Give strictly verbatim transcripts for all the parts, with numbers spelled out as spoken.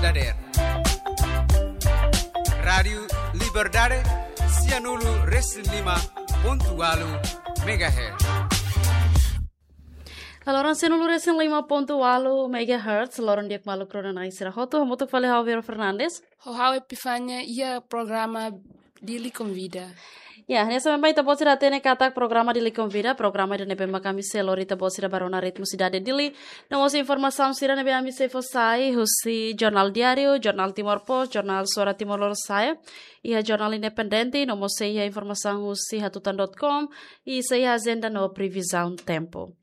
Dader. Rádiu Liberdade, sianulu resin lima pontu walu megahertz. Halo, loron sianulu resin lima pontu walu megahertz, loron di'ak maluk rona-na'in sira hotu, hamutuk fali ha'u Vero Fernandes. Ho ha'u Epifania, iha programa Dili Konvida. Ya, hanesan mak ita-boot sira hatene katak programa Dili Konvida, programa ida ne'ebé mak ami sei lori ita-boot sira ba rona ritmu sidade Dili. No mós informasaun sira ne'ebé ami sei fó sai husi Jornál Diáriu, Jornál Timor Post, Jornál Suara Timor Lorosa'e, iha jornál independente, no mós sei iha informasaun husi hatutan dot com, i sei iha ajenda no previzaun tempu.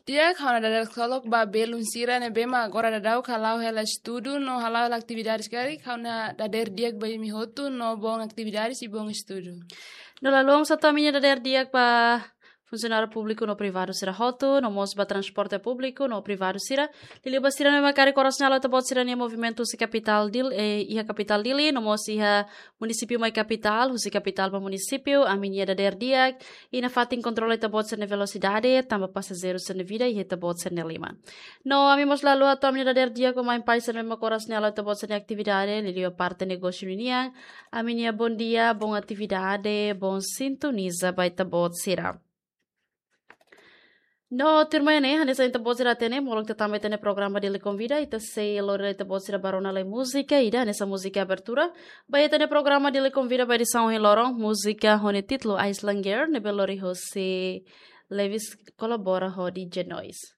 Di'ak, ha'u-nia dadeer-krook ba belun sira ne'ebé mak agora daudaun hala'o hela estudu no hala'o hela atividades karik, ha'u-nia dadeer di'ak ba imi hotu no boon atividades i boon estudu. No la luan sá atu ami-nia dadeer di'ak ba funsionáriu públiku no privadu sira hotu, no mós ba transporte públiku no privadu sira. Liuliu ba sira ne'ebé mak karik oras ne'e halo ita-boot sira-nia movimentu husi kapitál Dil, eh, iha kapitál Dili, no mós iha munisípiu mai kapitál, husi kapitál ba munisípiu, ami-nia dadeer di'ak, i nafatin kontrola ita-boot sira-nia velosidade, tanba pasajeiru sira-nia vida iha ita-boot sira-nia liman. No ami mós la luan atu ami-nia dadeer di'ak ba mãe-pais sira ne'ebé mak oras ne'e halo ita-boot sira-nia atividade, liuliu ba parte negósiu ninian, ami-nia bondia, boon atividade, boon sintoniza ba ita-boot sira. No tuirmai ne'e, hanesan ita-boot sira hatene, molok ita tama iha ita-nia programa Dili Konvida, ita sei lori ita-boot sira ba rona lai múzika ida, hanesan múzika abertura. Ba iha ita-nia programa Dili Konvida ba edisaun ohin loron, múzika ho nia títulu Island Girl, ne'ebé lori husi Lewis kolabora ho D J Noise.